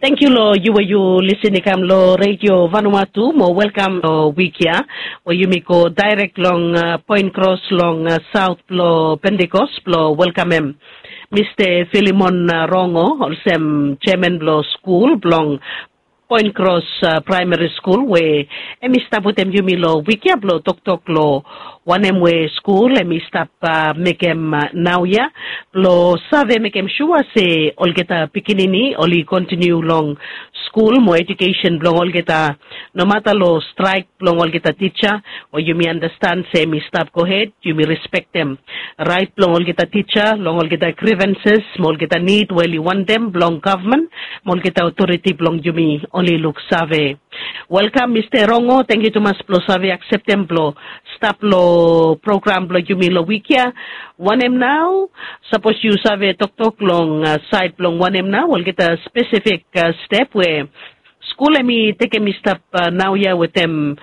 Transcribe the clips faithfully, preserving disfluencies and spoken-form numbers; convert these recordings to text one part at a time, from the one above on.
Tangkiu long yu we yu lisin i kam long Redio Vanuatu mo welkam long wik ya we yumi go daerek long poen kros long saot blong Pentikos blong welkamem Mista Filimon Rongo olsem jeaman blong skul blong Poen Kros Praemari Skul we hem i stap wetem yumi long wik ya blong toktok long wanem we skul hem i stap mekem naoia blong save mekem sua se olgeta pikinini oli kontiniu long skul mo ejukesen blong olgeta. Nomata long straek blong olgeta tija we yumi andastan se hem i stap gohed, yumi respektem raet blong olgeta tija long olgeta grivenses mo olgeta nid we oli wantem blong gavman mo olgeta otoriti blong yumi oli luksave. Welkam Mista Rongo, tangkiu tumas blong save akseptem blong stap long program blong yumi long wik ya. Wanem nao? Sapos yu save toktok long saed blong wanem nao olgeta spesifik step we skul hem i tekem i stap naoia wetem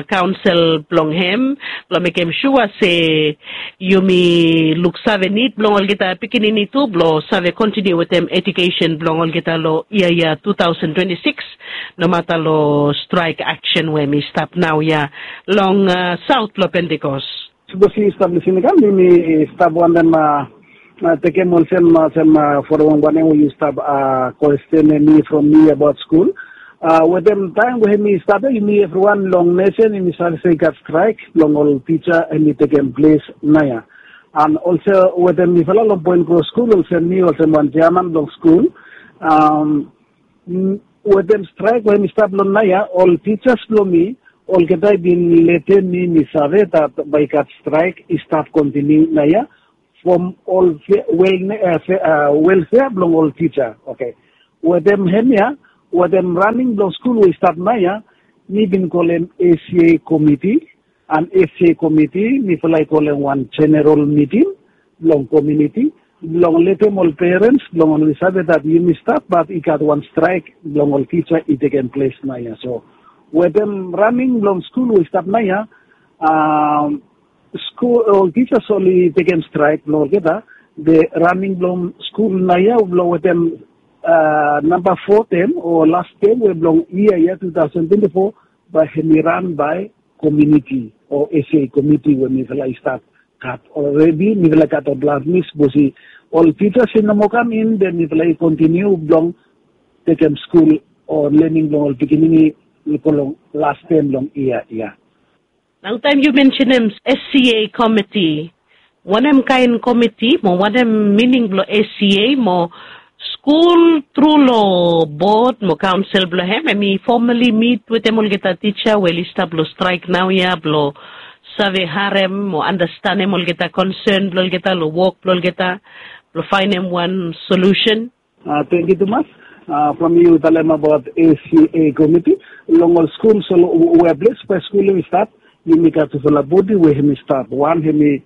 kaonsel blong hem blong mekem sua se yumi luksave nid blong olgeta pikinini tu blong save kontiniu wetem ejukesen blong olgeta long yia ya tu taosen twenti sikis. Nomata long straek aksen we hem i stap naoia long saot blong Pentikos. Sapos yu stap lisin i kam yumi stap wantem tekem olsem olsem forem wanem we yu stap kwestenem mi from mi abaot skul. Wetem taem we hem i stap ya yumi evriwan long nesen yumi save se i gat straek blong ol tija hem i tekem ples naoia. An olsem wetem mifala long Poen Kros Skul olsem mi olsem wan jeaman blong skul, wetem straek we hem i stap long naoia ol tijas blong mi olgeta i bin letem mi mi save dat bae i gat straek i stap kontiniu naoia from ol welfea blong ol tija. Oke, wetem hemia wetem raning blong skul we i stap naoia mi bin kolem ACA komiti. An ACA komiti mifala i kolem wan jeneral miting blong kominiti blong letem ol perens blong oli save dat yumi stap bat i gat wan straek blong ol tija i tekem ples naoia. So wetem raning blong skul we i stap naoia skul ol tijas oli tekem straek blong olgeta. Be raning blong skul naoia blong wetem namba fo tem o las tem we blong yia ya tu taosen twenti fo bae hem i ran bae kominiti o ACA komiti we mifala i stap gat olredi mifala i gat ol blas mi sapos i ol tijas i no moa kam in be mifala i kontiniu blong tekem skul o lening blong ol pikinini i go long las tem blong yia ya. Nao taem yu mensenem SCA komiti, wanem kaen komiti mo wanem mining blong SCA mo skul tru long bod mo kaonsel blong hem hem i fomali mit wetem olgeta tija we oli stap long straek naoia blong save harem mo andastanem olgeta konsen blong olgeta long wok blong olgeta blong faenem wan solusen? Tangkiu tumas. From yu talem abaot ACA komiti long ol skul so we ples we skul hem i stap, yumi gat tufala bodi we hem i stap. Wan hem i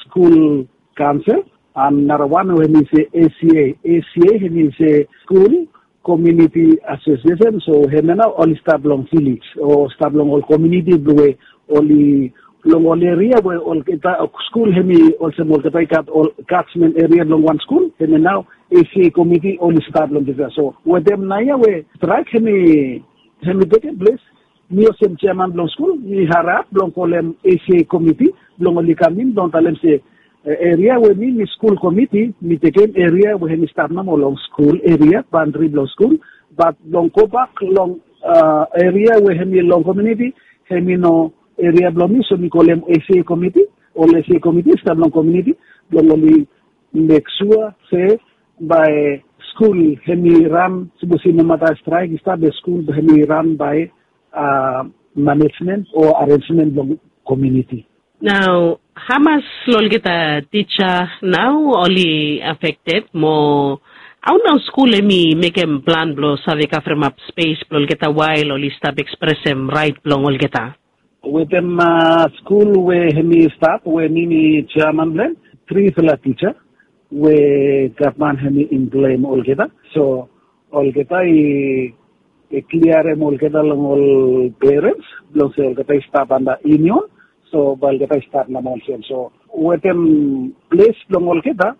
skul kaonsel an narawan we hem i se ACA. ACA hem i se skul kominiti asosiesen. So hem ya nao oli stap long vilej o stap long ol kominiti blong we oli long ol eria we olgeta skul hem i olsem olgeta i gat ol katsmen eria blong wan skul hem ya nao ACA komiti oli stap long dispela. So wetem naoia we straek hem i hem i tekem ples, mi olsem jeaman blong skul mi harap blong kolem ACA komiti blong oli kam in blong talem se eria we mi mi skul komiti mi tekem eria we hem i stap nomo long skul eria bandri blong skul. Bat blong gobak long eria we hem i long kominiti hem i no eria blong mi so mi kolem ACA komiti. Ol ACA komiti i stap long kominiti blong oli mek sua se bae skul hem i ran sapos i nomata straek i stap be skul hem i ran bae manejmen o arensmen blong kominiti. Nao hamas long olgeta tija nao oli afekted mo hao nao skul hem i mekem plan blong save kavremap spes blong olgeta wael oli stap ekspresem raet blong olgeta? Wetem skul we hem i stap we mi mi jeaman blong hem, trifala tija we gavman hem i implem olgeta. So olgeta i kliarem olgeta long ol perens blong se olgeta i stap anda yunion. So bae olgeta i stap namo olsem so Wetem ples blong olgeta,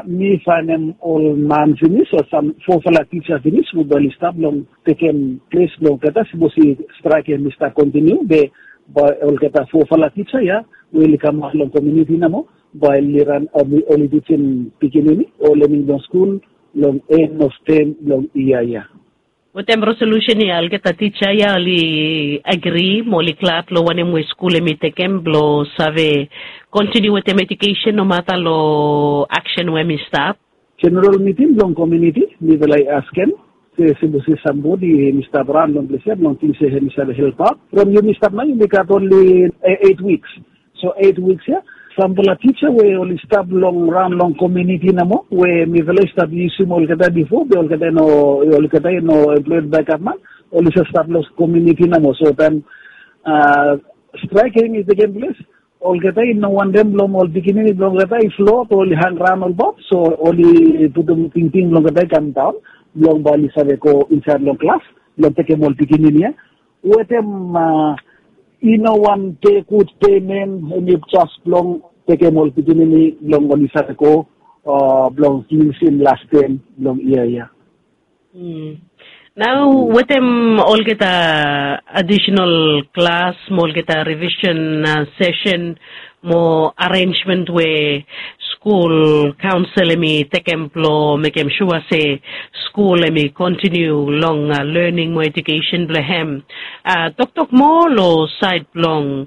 mi faenem ol man finis o sam fofala tisa finis we bae oli stap long tekem ples blong olgeta, sipos i straek hem i stap kontiniu be bae olgeta fofala tisa ya we oli kamaot long kominiti namo bae oli ran, oli tisim pikinini o lening blong skul long en of tem blong yia ya. Wetem resolusen ya olgeta tisa ya oli agri mo oli glad long wanem we skul hem i tekem blong save kontiniu wetem ejukesen nomata long aksen we hem i stap. Jeneral miting blong kominiti mifala i askem se sipos i sambodi hem i stap raon long ples ya blong ting se hem i save helpaot from yumi stap nao yumi gat onli eit wiks. So eit wiks ya, sampela tisa we oli stap long raon long kominiti namo we mifala i stap yusim olgeta bifo be olgeta i no, olgeta i no emploed bae gavman, oli save stap long kominiti namo. So taem straek ya i tekem ples, olgeta i no wantem blong ol pikinini blong olgeta i flot o oli hangraon olbaot. So oli putum tingting blong olgeta i kamdaon blong bae oli save go insaed long klas blong tekem ol pikinini ya wetem i no wan pe gud pemen, hem i jes blong tekem ol pikinini blong oli save go blong finisim las tem blong yia ya. Nao wetem olgeta adisenal klas mo olgeta rivisen sesen mo arenjmen we skul kaonsel hem i tekem blong mekem sua se skul hem i kontiniu long lening mo ejukesen blong hem. Toktok moa long saed blong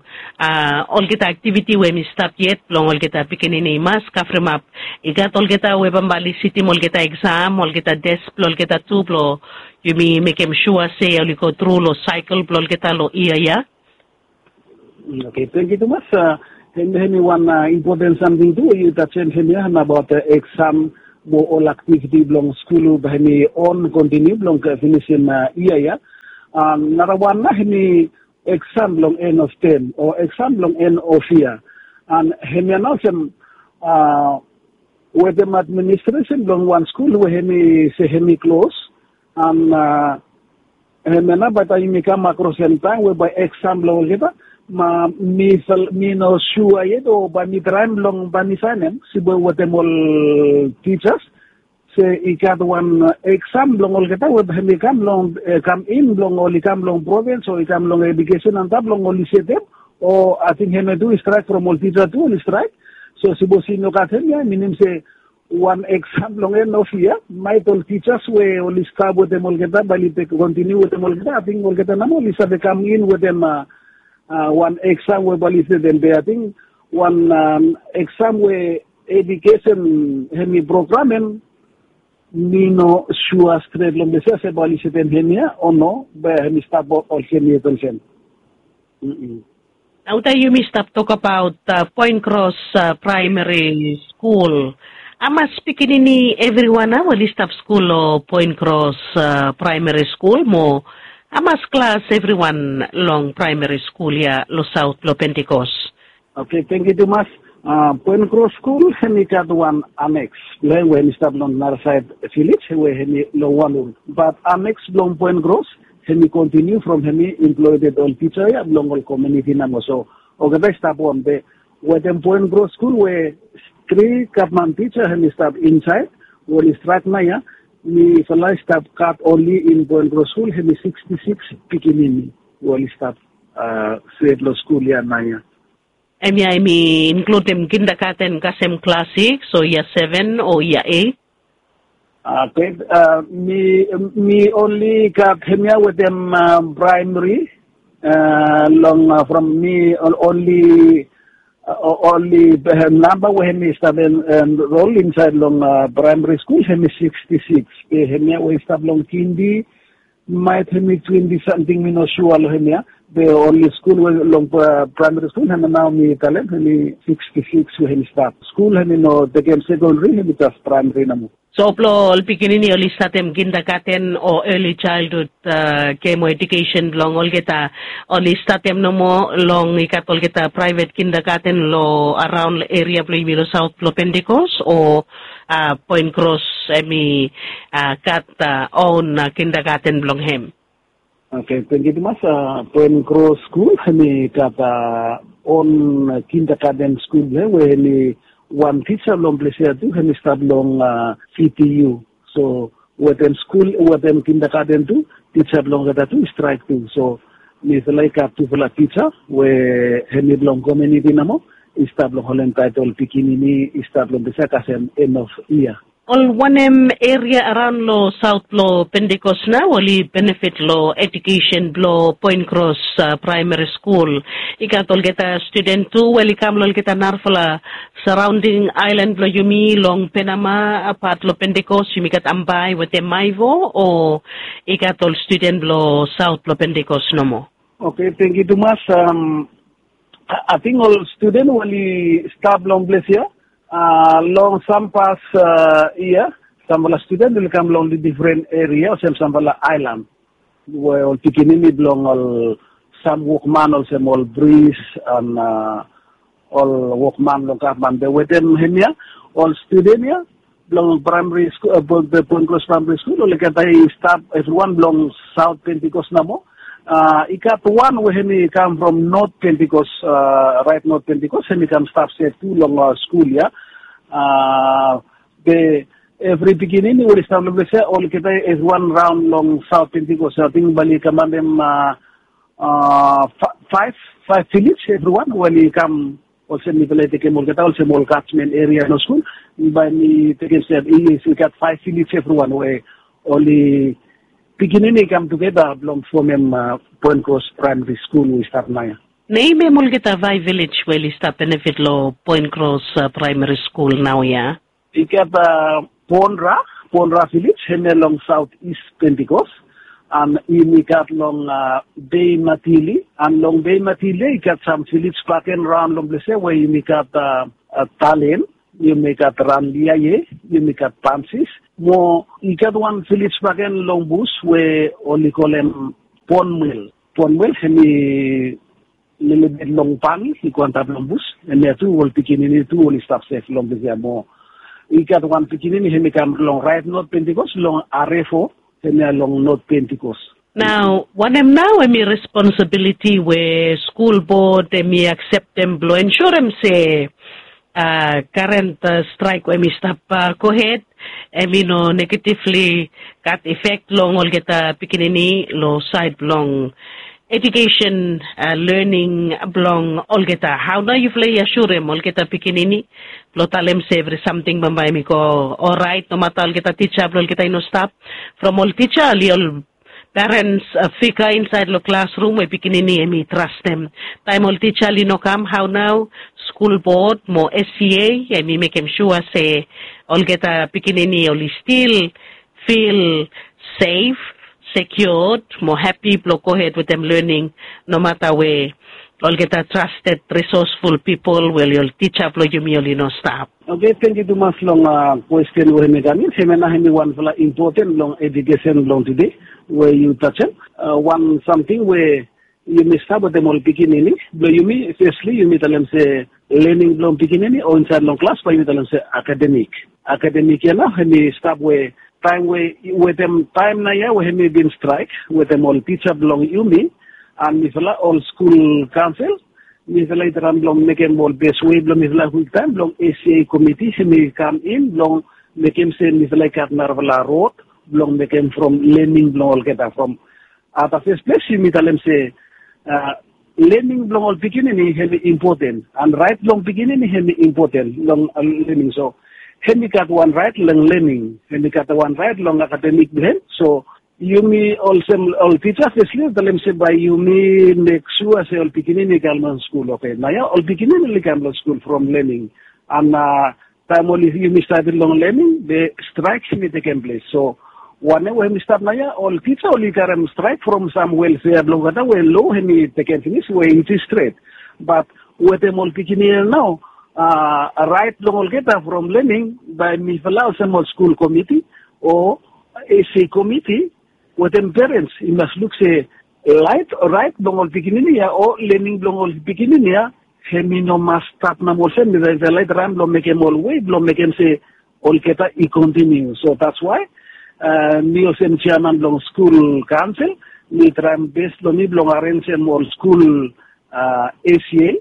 olgeta aktiviti we hem i stap yet blong olgeta pikinini i mas kavremap. I gat olgeta we bambae oli sitim olgeta eksam, olgeta tes blong olgeta tu blong yumi mekem sua se oli go tru long saekel blong olgeta long yia ya. Oke, tangkiu tumas. Hem hem i wan impoten samting tu we yu tajem hem ya hem abaot eksam mo ol aktiviti blong skul bae hem i on kontiniu blong finisim yia ya. Narawan nao hem i eksam blong en of tem o eksam blong en of yia. An hem ya nao olsem wetem administresen blong wan skul we hem i se hem i klos. An hem ya nao bae taem yumi kam akros hem taem we bae eksam blong olgeta, ma mi no sua yet o bae mi traem blong bae mi saenem sipwe wetem ol tijas se i gat wan eksam blong olgeta we bae hem i kam long kam in blong oli kam long provins o i kam long ejukesen antap blong oli setem. O ating hem ya tu i straek from ol tija tu oli straek. So sipos i no gat hem ya minim se wan eksam blong en of yia maet ol tijas we oli stap wetem olgeta bae oli kontiniu wetem olgeta ating olgeta namo oli save kam in wetem wan eksam we bae oli setem be ating wan eksam we ejukesen hem i programem. Mi no sua stret long ples ya se bae oli setem hem ya o no bae hem i stap olsem yet olsem. Nao taem yumi stap tokabaot poen kros praemari skul, hamas pikinini evriwan nao oli stap skul long poen kros praemari skul mo hamas klas evriwan long praemari skul ya long saot blong pentikos? Oke, tangkiu tumas. Poen kros skul hem i gat wan aneks blong hem we hem i stap long narasaed vilej we hem i long wan ul bat aneks blong poen kros hem i kontiniu from hem i imploded ol tija ya blong ol kominiti namo so olgeta i stap on be wetem poen kros skul we tri gavman tija hem i stap insaed we oli straek nao ya mifala i stap gat onli in poen kros skul hem i siksti siks pikinini we oli stap set long skul ya nao ya. Hemia hem i inkludim kindagaten kasem klas siks o yia seven o yia eit? Oke, mi onli gat hemia wetem praemari long from mi onli onli namba we hem i stap enrol insaed long praemari skul hem i siksti siks. Be hemia we i stap long kindi maet hem i twenti samting mi no sua long hemia. Be onli skul we long praemari skul hemia nao mi talem hem i siksti siks we hem i stap. Skul hem i no tekem sekondari hem i jas praemari nomo. So blong ol pikinini oli statem kindagaten o eli jaelhud gem o ejukesen blong olgeta oli statem nomo long i gat olgeta praevet kindagaten long araon eria blong yumi long saot blong pentikos o poen kros hem i gat on kindagaten blong hem? Oke, tangkiu tumas. Poen kros skul hemi gat on kintagaden skul blong hem we hemi wan tisa blong ples ya tu hemi stap long ctu. So wetem skul wetem kintagaden tu tisa blong olgeta tu i straik tu. So mifala i gat tufala tisa we hemi blong kominiti nomo i stap long holem taetol pikinini i stap long ples ya kasem en of yia. Ol wanem eria araon long saot blong pentikos nao oli benefit long ejukesen blong poen kros praemari skul? I gat olgeta studen tu we oli kam long olgeta narafala saraonding aelan blong yumi long penama apat long pentikos yumi gat ambae wetem maivo o i gat ol studen blong saot blong pentikos nomo? Oke, tangkiu tumas. Ating ol studen we oli stap long ples ya long sam pas yia, samfala studen oli kam long difren eria olsem samfala aelan we ol pikinini blong ol sam wokman olsem ol bris an ol wokman long gavman be wetem hemia ol studen ya blong praemari skul, poen kros praemari skul olgeta i stap evriwan blong saot pentikos nomo. I gat wan we hemi kam from not pentikos, raet not pentikos hemi kam stap sef tu long skul ya. Be evri pikinini we oli stap long ples ya olgeta evriwan raon long saot pentikos ating bae oli kamandem faef, faef vilej evriwan we oli kam olsem mifala i tekem olgeta olsem ol gajmen eria long skul. Bae mi tekem se i gat faef vilej evriwan we oli pikinini i kam tugeta blong fomem poen kros praemari skul we i stap naoia. Nemem olgeta faef vilej we oli stap benefit long poen kros praemari skul naoia? I gat ponra, ponra vilej hemia long saot is pentikos. An yumi gat long bei matili an long bei matili ya i gat sam vilej baken raon long ples ya we yumi gat talen, yumi gat ranliaie, yumi gat pansis. Mo i gat wan vilej baken long bus we oli kolem ponmwel. Ponmwel hemi lelebet long bangi i go antap long bus. Hemia tu ol pikinini tu oli stap sef long ples ya mo i gat wan pikinini hemi kam long raet not pentikos long arefo, hemia long not pentikos. Nao wanem nao hemi responsabiliti we skul bod hemi akseptem blong ensurem se karen straek we hemi stap gohed hemi no negativli gat efek long olgeta pikinini long saed blong ejukesen, lening blong olgeta? Hao nao yufala i asurem olgeta pikinini blong talem se evri samting bambae hemi go oraet nomata olgeta tisa blong olgeta i no stap? From ol tisa oli ol perens figa insaed long klasrum we pikinini hemi trastem. Taem ol tisa oli no kam hao nao skul bod mo sca hemi mekem sua se olgeta pikinini oli stil fil sef, sekiod mo hapi blong gohed wetem lening nomata we olgeta trasted risosful pipol we oli ol tisa blong yumi oli no stap? Oke, tangkiu tumas long kwesten we hemi kam in. Hemia nao hemi wanfala impoten long ejukesen blong tude we yu tajem. Wan samting we yumi stap wetem ol pikinini blong yumi fesli yumi talem se lening blong pikinini o insaed long klas bae yumi talem se akademik. Akademik ya nao hemi stap we taem we wetem taem naoia we hemi bin straek wetem ol tisa blong yumi an mifala ol skul kaonsel mifala i traem blong mekem ol bes wei blong mifala kwiktaem blong sca komiti hemi kam in blong mekem se mifala i gat narafala rod blong mekem from lening blong olgeta from at the first ples yumi talem se lening blong ol pikinini hemi impoten an raet blong pikinini hemi impoten long lening. So hemi gat wan raet long lening, hemi gat wan raet long akademik blong hem. So yumi olsem ol tisa fesli talem se bae yumi mek sua se ol pikinini i kam long skul. Oke, naoia ol pikinini oli kam long skul from lening an taem oli yumi stap long lening be straek hemi tekem ples. So wanem we hemi stap naoia ol tisa oli karem straek from sam welfea blong olgeta we lo hemi tekem finis we i stret. Bat wetem ol pikinini ya nao raet blong olgeta from lening bae mifala olsem ol skul komiti o sca komiti wetem perens i mas luk se raet blong ol pikinini ya o lening blong ol pikinini ya hemi no mas stap nao olsem. Mifala i traem blong mekem ol wei blong mekem se olgeta i kontiniu. So that's why mi olsem jeaman blong skul kaonsel Mi traem bes blong mi blong arenjem ol skul, a, A C A,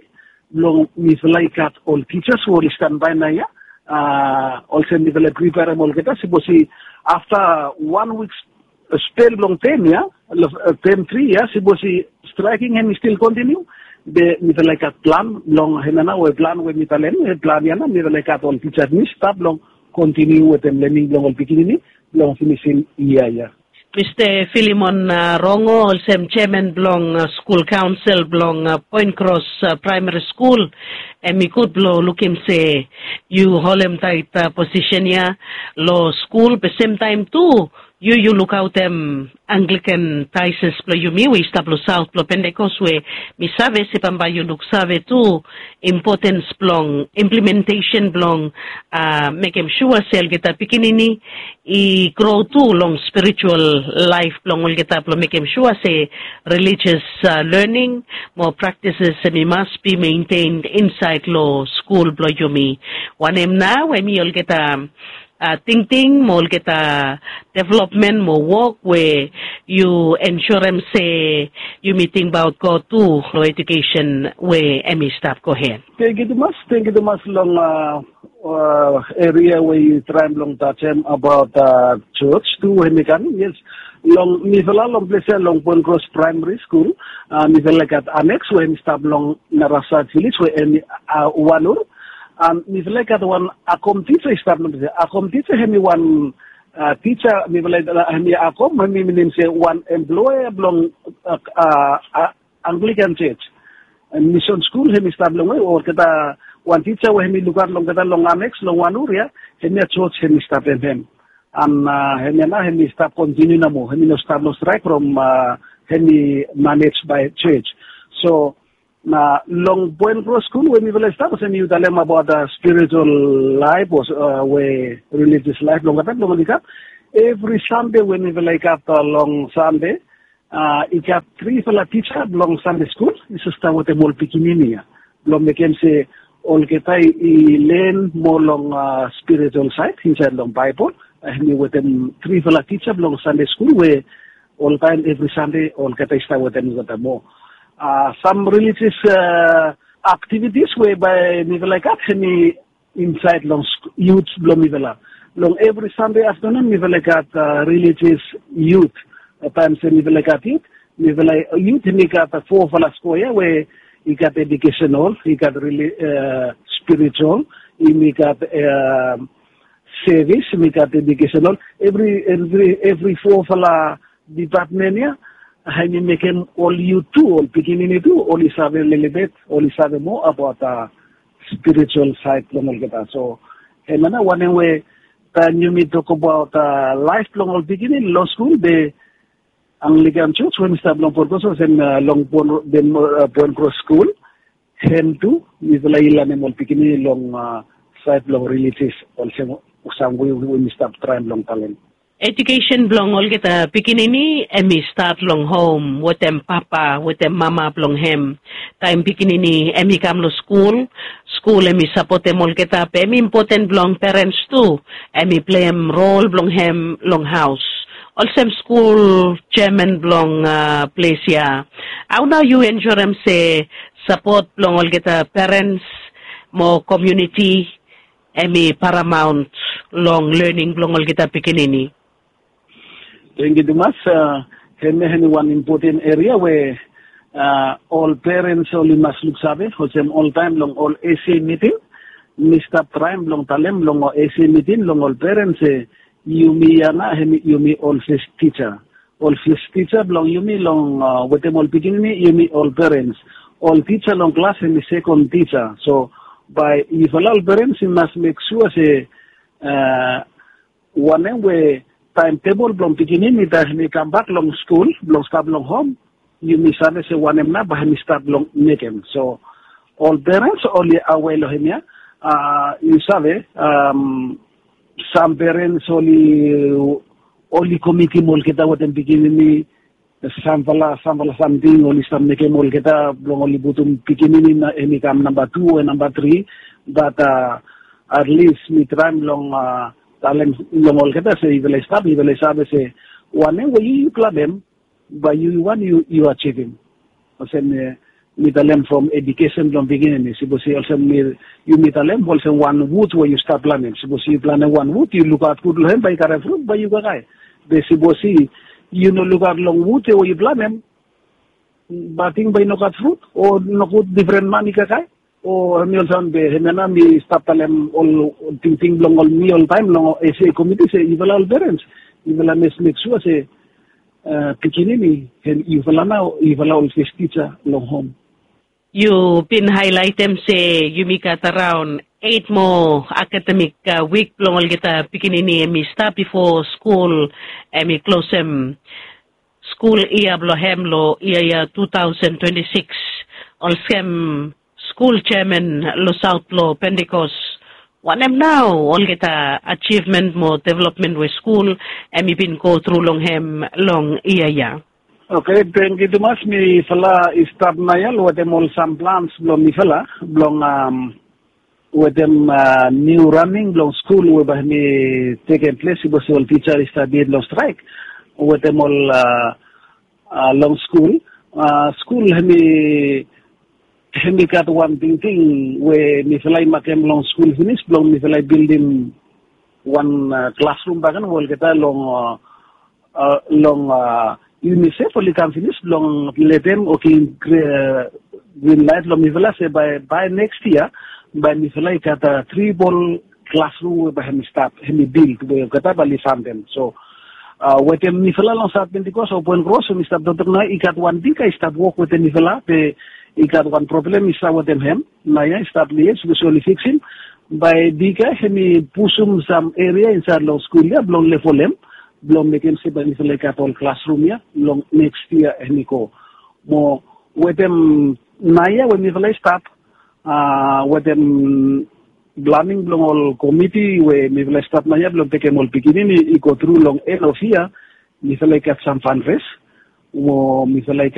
blong mifala i gat ol tijas we oli stanbae naoia, a, olsem mifala i priperem olgeta, sapos i afta wan wik spel blong tem ya, term tri ya, sapos i straeking hemi stil kontiniu, be mifala i gat plan blong, hemia nao we plan we mi talem, plan ya nao mifala i gat ol tija mi stap blong kontiniu wetem lening blong ol pikinini blong finisim yia ya. Mista Filimon Rongo, olsem jeaman blong skul kaonsel blong Poen Kros Praemari Skul, hemi gud blong lukim se yu holem taet posisen ya long skul, be semtaem tu yu yu lukaotem Anglikan daeses blong yumi we i stap long saot blong Pentekos, we mi save se bambae yu luksave tu impotens blong implementesen blong, a, mekem sua se olgeta pikinini i gro tu long spiritual laef blong olgeta blong mekem sua se religious, a, lening mo praktises hemi mas bi maintaened insaed long skul blong yumi. Wanem nao hemi olgeta, a, tingting mo olgeta developmen mo wok we yu ensurem se yumi tingbaot God tu long ejukesen we hemi stap gohed. Tangkiu tumas, tangkiu tumas long, a, a, eria we yu traem blong tajem abaot, a, jos tu we hemi kam. Yes, long mifala long ples ya long Poen Kros Praemari Skul, a, mifala i gat aneks we hemi stap long Narasaet Vilej we hemi, a, Wanur. A, mifala i gat wan akom tija i stap long ples ya. Akom tija hemi wan, a, tija, mifala i, a, hemi akom, hemi minim se wan emploea blong, a, a, a, Anglikan jos. Misen skul hemi stap longwe, olgeta wan tija we hemi lukaot long olgeta long aneks long Wanur ya, hemia jos hemi stap hem hem. An, a, hemia nao hemi stap kontiniu nomo, hemi no stap long straek from, a, hemi manej bae jos. So, na long Poen Kros Skul we mifala i stap, olsem yu talem abaot, a, spiritual laef o, a, we religious laef blong olgeta blong oli gat. Evri Sande we mifala i gat, a, long Sande, a, i gat trifala tija blong Sande skul i save stap wetem ol pikinini ya blong mekem se olgeta i len moa long, a, spiritual saed insaed long Baebol. A, hemi wetem trifala tija blong Sande skul we oltaem evri Sande olgeta i stap wetem olgeta moa. A, sam religious, a, aktivitis we bae mifala i gat hemi insaed long sk-, yut blong mifala. Long evri Sande aftanun mifala i gat, a, religious yut. A, taem se mifala i gat yut, mifala yut hemi gat, a, fofala skoea we i gat educational, i gat reli-, a, spiritual, hemi gat, a, sevis, hemi gat educational. Evri, evri, evri fofala dipatmen ya, hemi mekem ol yut tu, ol pikinini tu, oli save lelebet, oli save moa abaot, a, spiritual saed blong olgeta. So, hemia nao wanem we taem yumi tokbaot, a, laef blong ol pikinini long skul, be Anglikan jos we hemi stap long Poen Kros, olsem, a, long Poen, be, a, Poen Kros Skul, hem tu mifala i lanem ol pikinini long, a, saed blong religious, olsem sam we, we mi stap traem blong talem. Ejukesen blong olgeta pikinini hemi stat long hom wetem papa wetem mama blong hem. Taem pikinini hemi kam long skul, skul hemi sapotem olgeta, be hemi impoten blong perens tu, hemi pleim rol blong hem long haos. Olsem skul jeaman blong, a, ples ya, hao nao yu ensurem se sapot blong olgeta perens mo komuniti hemi paramaon long lening blong olgeta pikinini? Tangkiu tumas, a, hemia hemi wan impoten eria we, a, ol perens oli mas luksave, olsem oltaem long ol A C A miting, mi stap traem blong talem long ol A C A miting long ol perens se yumi ya nao hemi yumi ol fes tija. Ol fes tija blong yumi long, a, wetem ol pikinini, yumi ol perens. Ol tija long klas hemi sekon tija. So, bae yufala ol perens i mas mek sua se, a, wanem we taemtebol blong pikinini taem hemi kambak long skul blong stap long hom, yumi save se wanem nao bae hemi stap blong mekem. So, ol perens oli awe long hemia, a, yu save, am, sam perens oli, oli komitim olgeta wetem pikinini, samfala, samfala samting oli stap mekem olgeta blong oli putum pikinini nao hemi kam namba tu o namba tri, bat, a, at least mi traem long, a, talem long olgeta se yufala i stap, yufala i save se wanem we yu, yu klabem, Bae yu wan yu yu ajivim. Olsem mi talem from edukesen blong pikinini, sipos i olsem mi yu mi talem olsem wan wud we yu stap planem, sipos yu planem wan wud yu lukaot gud long hem bae i karem frut bae yu kakae. Be sipos i yu no lukaot long wud ya we yu planem, bae ting bae i no gat frut o nogud difren man i kakae. O hem i olsem be hem ya nao mi stap talem ol tingting blong ol mi oltaem long ese komiti se yufala ol perens, yufala mes mek sua se pikinini hem yufala nao yufala ol fes tija long hom. Yu bin haelaetem se yumi gat araon eit moa akademik wik blong olgeta pikinini hem i stap bifo skul hem i klosem skul yia blong hem long yia yia tu taosen twenti sikis, olsem skul jeaman long saot blong pentikos. Wanem nao olgeta ajivmen mo developmen we skul hem i bin go tru long hem long yia yia? Oke, tengkiu tumas. Mifala i stap naoia long wetem ol sam plans blong mifala blong wetem niu raning blong skul we bae hem i tekem ples sipos ol tija i stap yet long straek wetem ol long skul. Skul hem i hem i gat wan tingting we mifala i makem long skul finis blong mifala i bildim wan klasrum bakegen we olgeta long long unisef oli kam finis blong letem o givim grin laet long mifala se bae bae neks yia bae mifala i gat tribol klasrum we bae hem i stap hem i bild we olgeta bae oli fandem. So wetem mifala long saot pentikos o poen kros we mi stap toktok nao i gat wan bika i stap wok wetem mifala be i gat wan problem i stap wetem hem. Naoia i stap lies bikos oli fiksim bae bika hem i pusum sam eria insaed long skul ya blong lefolem blong mekem se bae mifala i gat ol klasrum ya long neks yia hem i go. Mo wetem naoia we mifala i stap wetem blaning blong ol komiti we mifala i stap naoia blong tekem ol pikinini i go tru long en of yia, mifala i gat sam fanres mo mifala i